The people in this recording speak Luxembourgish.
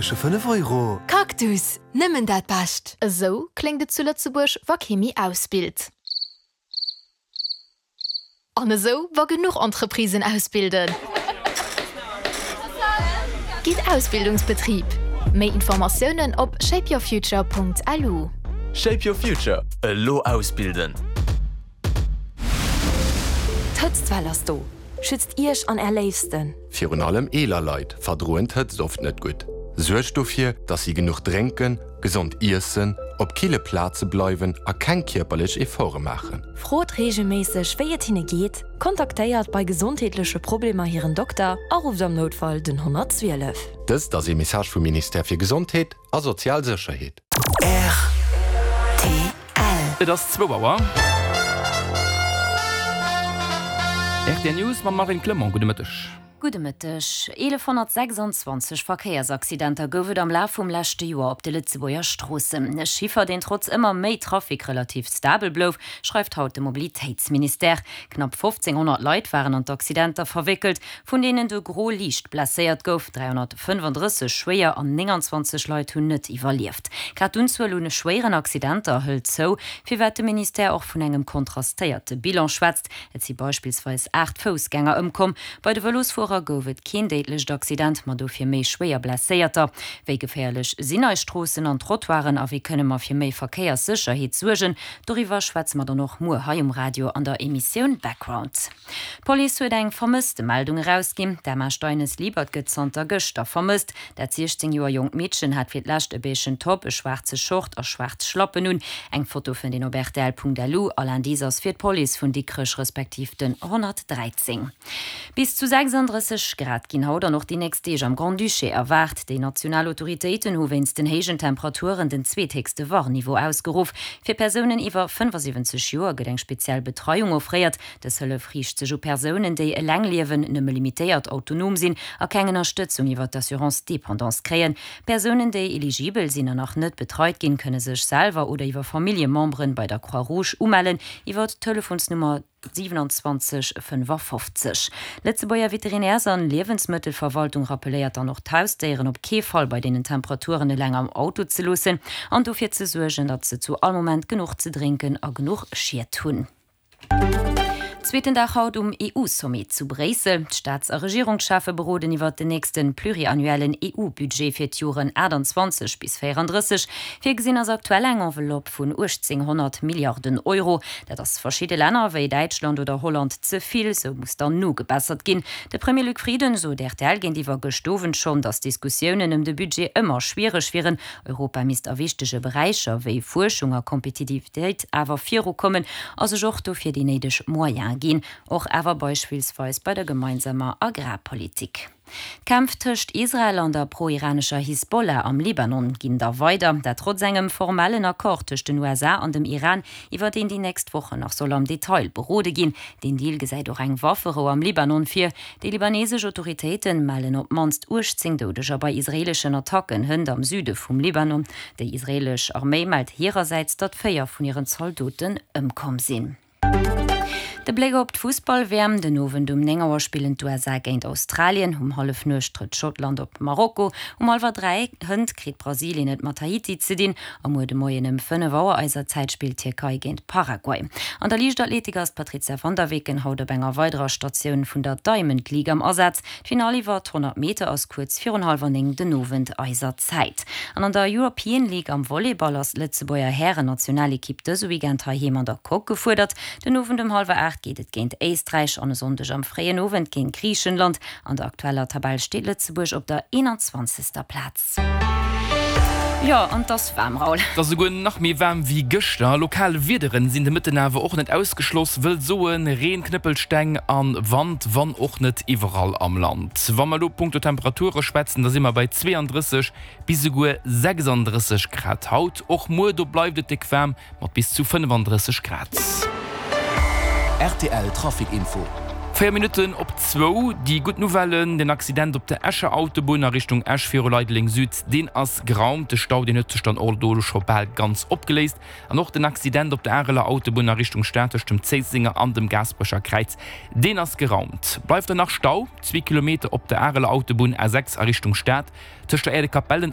5 Euro. Cactus, nëmmen dat Bescht! Esou kléngt et zu Lëtzebuerg, wa kee méi ausbilt. An esou, wa genuch Entreprisen ausbilden. Gitt Ausbildungsbetrib! Méi Informatiounen op shapeyourfuture.lu. Shape your future, elo ausbilden! D'Hëtztwell ass do! Schützt Iech an Är Léifsten! Virun allem eeler Leit verdroen d'Hëtzt oft net gutt. Suergt dofir, dass si genuch drénken, gesond iessen, op kille Plaze bleiwen a keng kierperlech Efforte maachen. Frot reegelméisseg, wéi et hinne geet, kontaktéiert bei gesondheetleche Problemer hiren Dokter a rufft am Noutfall den 112. Dëst ass ee Message vum Ministère fir Gesondheet a sozial Sécherheet. Rtl. Et ass zwou Auer. Rtl News mam Marine Clement. Gudde Mëtteg. Gudde Mëtteg. 1126 Verkéiersaccidenter gouf et am Laf vum leschte Joer op de Lëtzebuerger Stroossen. E Chiffer, deen trotz ëmmer méi Trafic relativ stabel blouf, schreift haut de Mobilitéitsministère. Knapp 1.500 Leit waren an d'Accidenter verwéckelt, vun deenen de Gros liicht blesséiert gouf, 335 schwéier an 29 Leit hunn net iwwerlieft. Grad d'Unzuel un schwéieren Accidenter hëlt zou, firwat de Ministère och vun engem kontrastéierte Bilan schwätzt. Et si beispillsweis 8 Foussgänger ëmkomm. Bei de Vëlosfuerer gouf et keen déidlecht Accident, ma dofir méi schwéier Blesséierter. Wéi geféierlech sinn eis Stroossen an Trottoiren a wéi kënne mer fir méi Verkéierssécherheet suergen? Doriwwer schwätze mer dann och muer hei um Radio an der Emissioun Background. D'Police huet eng Vermësstemeldung erausginn. D'Emma Steines-Liebert gëtt zanter gëschter vermësst. Dat 16 Joer jonkt Meedchen hat fir d'lescht e beigen Top, e schwaarze Short a schwaarz Schlappen un. Eng Foto fënnt een op rtl.lu. All Indice ass fir d'Police vun Dikrech respektiv den 113. Bis zu 36 Grad ginn haut an och déi nächst Deeg am Grand-Duché erwaart. Déi national Autoritéiten hu wéinst den héijen Temperaturen den zweethéchste Warnniveau ausgeruff. Fir Persounen iwwer 75 Joer gëtt eng speziell Betreiung offréiert. Dës Hëllef riicht sech u Persounen, déi eleng liewen, nëmme limitéiert autonom sinn a keng Ënnerstëtzung iwwer d'Assurance dépendance kréien. Persounen, déi eligibel sinn an nach net betreit ginn, kënne sech selwer oder iwwer Familljememberen bei der Croix-Rouge umellen iwwer d'Telefonsnummer 27 55. D'Lëtzebuerger Veterinärs an Liewensmëttelverwaltung rappelléiert dann och d'Hausdéieren op kee Fall bei deenen Temperaturen eleng am Auto ze loossen an dofir ze suergen, datt se zu all Moment genuch ze drénken a genuch Schied hunn. Zweeten Dag haut um EU-Sommet zu Bréissel. D'Staats a Regierungscheffe beroden iwwert den nächste pluriannuellen EU-Budget fir d'Joren 28 bis 34. Virgesinn ass aktuell eng Enveloppe vun 1.800 Milliarden Euro. Dat ass verschidde Länner wéi Däitschland oder Holland ze vill, sou muss dann nogebessert ginn. De Premier Luc Frieden sot rtl géintiwwer gëscht Owend schonn, datt d'Diskussiounen ëm de Budget ëmmer schwiereg wieren. Europa misst a wichtege Beräicher wéi Fuerschung a Kompetitivitéit awer virukommen a sech och dofir déi néideg Moyene ginn, och awer beispillsweis bei der gemeinsamer Agrarpolitik. D'Kämpf tëscht Israel an der pro-iranescher Hisbollah am Libanon ginn da weider, dat trotz engem formellen Accord tëscht den USA an dem Iran, iwwer deen déi nächst Wochen nach soll am Detail berode ginn. Deen Deal gesäit och eng Wafferou am Libanon vir. Déi libanesesch Autoritéite mellen op d'mannst 18 Doudeger bei israeeleschen Attacken hënt am Süde vum Libanon. Déi israeelesch Arméi mellt hirersäits, datt 4 vun hiren Zaldoten ëmkomm sinn. De Bléck op d'Fussball-WM, Den Owend um 9 Auer spillen d'USA géint Australien, um Hallefnuecht trëtt Schottland op Marokko, um hallwer 3 hënt kritt Brasilien et mat Haiti ze dinn a muer de Moien ëm 5 Auer eiser Zäit spillt d'Tierkei géint Paraguay. An der Liichtathletik ass d'Patrizia van der Weken haut op enger weiderer Statioun vun der Diamond League am Asaz. D'Finall iwwer d' 100 Meter ass kuerz virun hallwer 9 den Owend eiser Zäit. An an der European League am Volleyball ass d'Lëtzebuerger Hären-Nationalekipp dëse Weekend heiheem an der Coque gefuerdert. Den Owend um hallwer 8 geet et géint Éisträich an e Sonndeg am fréien Owend géint Griichenland. An der aktueller Tabell steet Lëtzebuerg op der 21. Plaz. Jo, an 't ass waarm, Raoul. Et ass esouguer nach méi waarm wéi gëschter. Lokal Wiederen sinn de Mëtten awer och net ausgeschloss, wëll soen Reen, Knëppelsteng an Wand, wann och net iwwerall am Land. Wa mer elo punkto Temperature schwätzen, da si mer bei 32 bis esouguer 36 Grad haut. Och muer, do bleift et déck waarm mat bis zu 35 Grad. Rtl Trafic Info. 4 Minutten op zwou, déi gutt Nouvelle, Den Accident op der Escher Autobunn a Richtung Esch viru Leideleng Süd, deen ass geraumt. De Stau, deen huet sech dann och do scho bal ganz opgeléist. An och den Accident op der Areler Autobunn a Richtung Stad tëscht dem Zéissenger an dem Gaasperecher Kräiz, deen ass geraumt. Bleift dann nach Stau, zwee Kilometer op der Areler Autobunn A6 a Richtung Stad tëscht der Aire de Capellen.